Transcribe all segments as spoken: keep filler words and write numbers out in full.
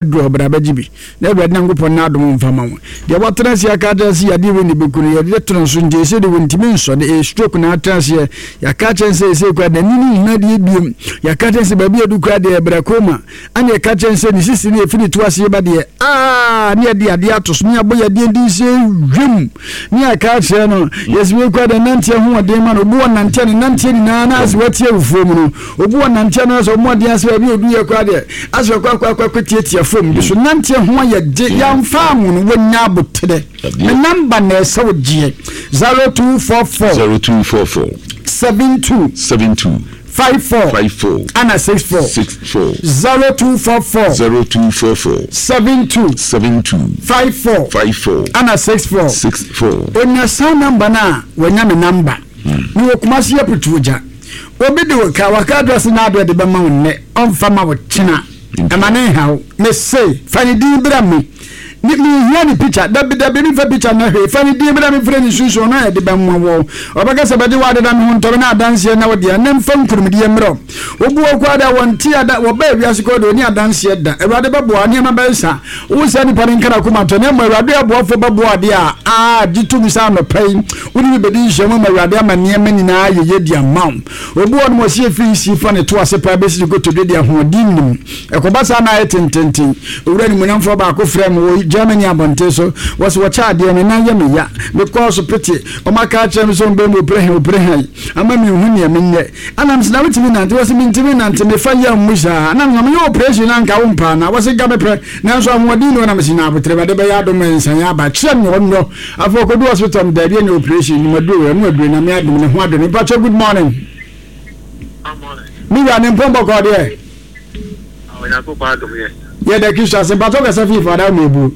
Duru hɔ, bra bɛgye bi, na Awurade Nyankopɔn n'adom mfa ma wo. Deɛ watena ase aka akyerɛ sɛ yadeɛ wei na ɛbɛku no, yɛde to no so nti ɛsei deɛ wɔntumi nsɔ no, ɛyɛ stroke na atena aseɛ. Yɛaka akyerɛ no sɛ ɛsei koraa n'ani no nhunu adeɛ biom. Yɛaka akyerɛ no sɛ baabi a ɛdu koraa deɛ ɛbrɛ koma. Ɛna yɛka kyerɛ no sɛ ne sisi no yɛfiri ne to aseɛ ba deɛ, aa ne yɛde adeɛ ato so, ne yɛabɔ yadeɛ din sɛ hwim, ne yɛaka akyerɛ no, yɛsɛ wei koraa deɛ nanteɛ ho ɔden ma no. Obi wɔ nanteɛ ne nanteɛ nyinaa na asɛ wate awufoɔ mu no. Obi wɔ nanteɛ no asɛ ɔmo adeɛ asɛ baabi a odu yɛ koraa deɛ asɛ ɔkɔ akɔ akɔ akɔ tiatia fam bi so nanteɛ ho ayɛ gye yɛmfa ho no wɔnya aboterɛ. Me namba na ɛsɛ wo gyeɛ zero two four four zero two four four seven two seven two five four five four ana six four six four zero two four four zero two four four seven two seven two five four five four ana six four. six four. Onya saa namba no a, wanya me namba. Mewɔ Kumasi Aputuogya. Obi de wo ka, waka address na adeɛ de bɛma wo nnɛ, ɔmfa ma wo kyena. Ɛma ne nha wo. Mese, fa ne din bra me. Ne, menhia ne picture. Dabi, dabi, memfa picture nyɛ hwee. Fa ne din bra me mfrɛ ne sunsum, ɔno a yɛde bɛma wo. Ɔbɛka sɛ bɛgye w'ade na me ho ntɔ me na adanseɛ na wo dea, na mfa nkunimdie mmerɛ wo. Wobu wo koraa da, wɔnte ada, wɔbaa wiase koraa deɛ wɔnni adanseɛ da. Awurade bɛboa wo, nneɛma bɛyɛ saa. Wo saa nipa no nka n'akoma nto, na mmom Awurade aboafoɔ bɛboa adeɛ a, aa, gye tom sɛ anɔpa yi, wo ne me bɛdi nhyiamu ama Awurade ama nneɛma nyinaa ayɛ yie de ama wo. Obi wɔ hɔnom ɔsi efi nsi fa ne to ase paa bɛsi ne kotodwe deɛ ahoɔden nnim. Ɛkɔba saa na ayɛ tententen. Owura animuonyamfoɔ baako frɛɛ me wɔ Germany abɔnten so, wɔse wɔkyɛ adeɛ, me nan yɛ me ya. Mekɔɔ so pete, wɔaka akyerɛ me sɛ wɔbɛyɛ me oprehan oprehan ama menhu nea menyɛ. Ɛna mese na wotumi nante? Wɔse mentumi nante, mefa yam mu saa. Ɛna mese meyɛ operation na anka wompɛ anaa? Wɔse nka mepɛ, nanso ahoɔden nni hɔ. Na mese nya aboterɛ, Awurade bɛyɛ adom ma nsan aba. Kyerɛ me ɔnnɔ. Afei ɔkɔduu hospital no, daabi ɛnyɛ operation, nim aduro wei, ɛno aduro, Nyame adom, ne ho adɔ no. Mpakyɛw good morning. Me wura ne mpɔn bɔkɔɔ deɛ. Onyankopɔn adom yɛ. Yɛda Kristo ase. Mpakyɛw kasa fii fa da ma ebu.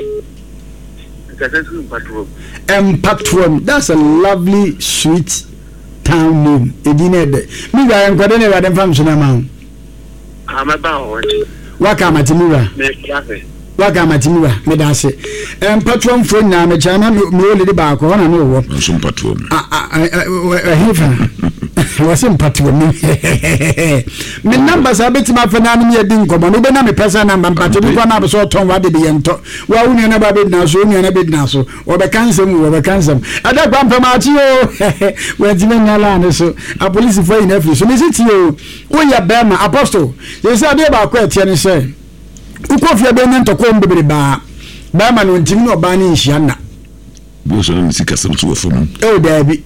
Nkasa firi mpatoam. Mpatoam, that's a lovely sweet town name. Edin no ɛdɛ. Me wura yɛnkɔ dɛ na Awurade mfa nso no ama wo. Ah, mɛba wɔ hɔ nti. Waka amate me wura. Mefra Waka amate me wura. Meda ase. Mpatoamfoɔ nyinaa mekyɛ na me oledi baako hɔ na ne wɔ. Nso mpatoam. Ɛhe fa? Wɔse mpatoam. Me namba saa bɛtumi afɛ na ne yɛdi nkɔmmɔ no wobɛnya me pɛsɛ namba mpakyɛ bi kɔ na abɛsɛ ɔtɔn wade bi yɛntɔ wa wo nua no ba bɛgyina so wo nua no bɛgyina so Wɔbɛka nsɛm o, wɔbɛka nsɛm. Ɛda kwa mpɛ maakye o, wantumi anya line so. Apolisifoɔ ayi no afiri so. Mese tie o, woyɛ bɛrima, apostle. Seesei adeɛ baako a ɛteɛ ne sɛ, wokɔ fie a bɛnya ntɔkwa mu bebrebe a, bɛrima no ntumi ne ɔbaa no nhyia nna. Bi nso na ne sikasɛm nso wɔ fam. Oh, daabi.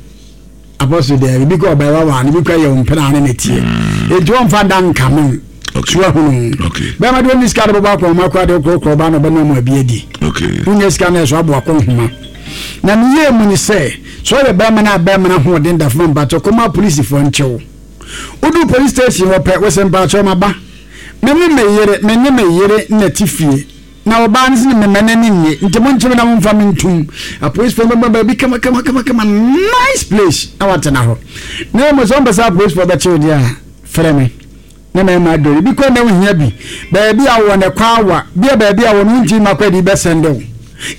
Apostle daabi. Bi kɔ ɔbaa wawa no, bi kɔ yɛ mpena ne ne teɛ. Enti wɔmfa da nkame wo. So ahunu. Bɛrima de ɔnni sika de bɛbɔ akɔnhoma koraa de wokorɔkorɔ ɔbaa na ɔbɛnoa mu abi adi. Wonya sika no ɛso aboa kɔnhoma. Na ne yie mu ne sɛ, sɛ ɔyɛ bɛrima no a bɛrima no ahoɔden da fam mpakyɛ kɔma apolisifoɔ nkye wo. Woduru police station hɔ pɛ, wose mpakyɛ maba. Me ne me yere, me ne me yere na ɛte fie. Na ɔbaa no se ne mema n'ani nnye, nti monkye me na momfa me ntom. Apolisifoɔ no bɛma baabi kama kama kama kama, nice place na watena hɔ. Na mmom sɛ wompɛ sɛ apolisifoɔ bɛkye wo deɛ a, frɛ me. Ne mmarima adɔre bi kɔ na wohia bi baabi a wɔ ne kɔ awa bi a baabi a wɔ no wontumi ma kɔ adi bɛsɛnde wo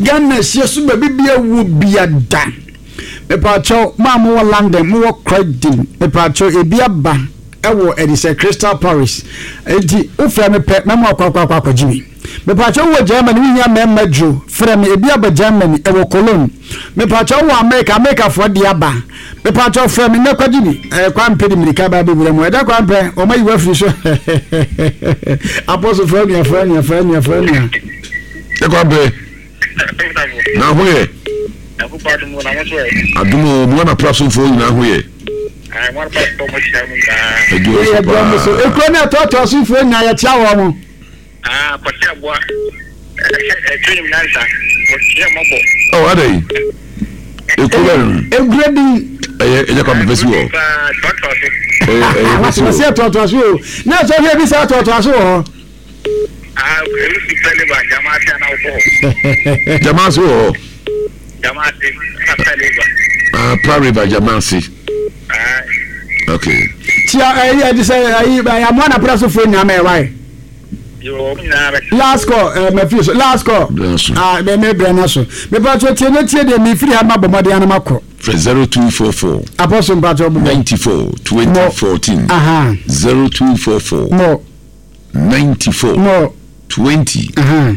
Ghana hyia so baabi bi a wɔ bia da mepaakyɛw mo a mowɔ London mowɔ Croydon mepaakyɛw ebi aba ɛwɔ ɛde sɛ Crystal Paris enti wofrɛ me pɛ mɛmo akɔ akɔ akɔ akɔgye bi mepaakyɛw wɔ Germany wohia mmarima duro frɛ me ebi aba Germany ɛwɔ Cologne mepaakyɛw wɔ America Americafoɔ de aba Mepakyɛw frɛ me nnɛ kwagye bi. Ɛɛ Kwampɛ de mirika ba abɛwura mu. Ɛda Kwampɛ, wɔn ayi wo afiri so. Apostle frɛ nua, frɛ nua, frɛ nua, frɛ nua. Ɛ Kwampɛ, na ho yɛ? Adom o, mo ana prasomfoɔ nyinaa ho yɛ? Ɛyɛ dɔm so. Ekuro ne ɛtoatoa sofoɔ nyinaa yɛkyea wɔn mo. Ah, Kwasi Aboa, ɛtwe nim nyansa, wɔkyerɛ mmɔbɔ. Oh, adɛn? Ekuro bɛn no? Ekuro din. Ɛyɛ ɛyɛ kwa pɛpɛ si wɔ. Ɛyɛ ɛyɛ pɛ si wɔ. Wɔsi ɛtoatoa so o. Na ɛsɛ ɔhwɛ bi sɛ atoatoa so wɔ hɔ. Ah, ebi si pɛ ne ba, jama ase ana wokɔ hɔ. Jama ase wɔ hɔ. Jama ase, na pɛ ne ba. Ah, pra river jama ase. Okay. Tia ɛyi ɛdi sɛ ɛyi amoa na pra so fo nyinaa mɛ ɛwae. Last call eh, mafiri so last call ah, me me brɛ no so mepatwɛ tie ne tie deɛ mefiri ha mabɔ mmɔden ano makɔ. Frɛ zero two four four. Apɔso mpatwɛ bobɔ. Ninety four twenty fourteen. Aha. Zero two four four. Mo. Ninety four. Mo. Twenty.